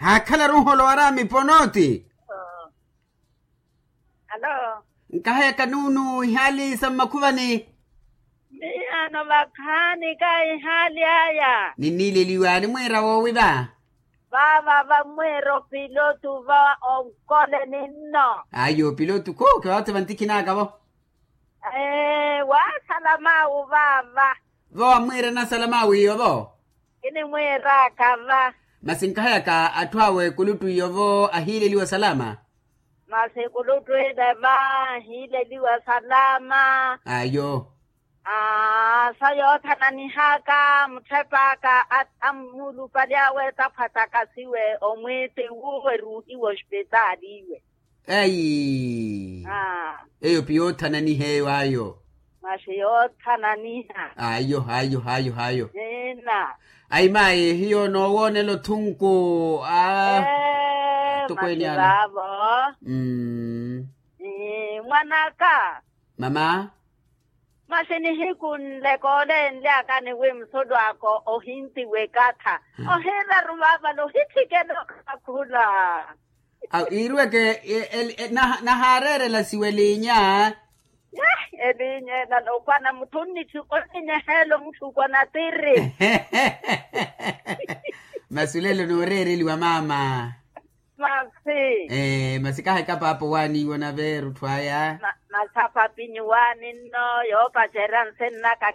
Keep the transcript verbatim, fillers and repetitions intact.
Haakhalaru nholo waraamipo nooti. Alo. Nkahayaka nuunu ihaali sa mmakhuvani. Miyano vakhaani ka ihaali aya. Ninniileliwa nimwiira woowi va. Vava vamwiira opilotu va onkole ninno. Ayo opilotu khuuke vaatse vantikhinaka vo. Ee waasalamawu vava. Vo wamwiira nasalamawu iyo vo. Kinimwiiraka va. Masi nkahayaka atthu awe kuluttu iyo vo ahiileliwa salama. Masi kuluttu ile va ahiileliwa salama. Ayo. Aa sa yoothananihaka mutthepaka ammulupali awe taphwatakasiwe omwiiti wuwe ruuhiwe ospitaali iwe. Eyi. Eyo piyoothananiha eyo ayo. Masi yoothananiha. Ayo ayo ayo ayo. Ina. Ayi mayi hiyo noowoonela othunku a. Tukweeni ana. Masi vaavo. Mwanaka. Mama. Masi nihiku nle kooleenlyakani wi musulu aka ohintiwa ekatha. Ohiiraru vaavale ohitthikela okakhula. Awo iirweke. Nahaareerela siwa eliinya. Eliinya ela nookwana mutthu onnitthu onnineheela omutthu okwana tiri. Masi olelo nooreereliwa maama. Masi. Masi kaheka paapa owaaniiwa onave erutthu aya. Masi apapinyi owaani nno yoopacerya nsennaka.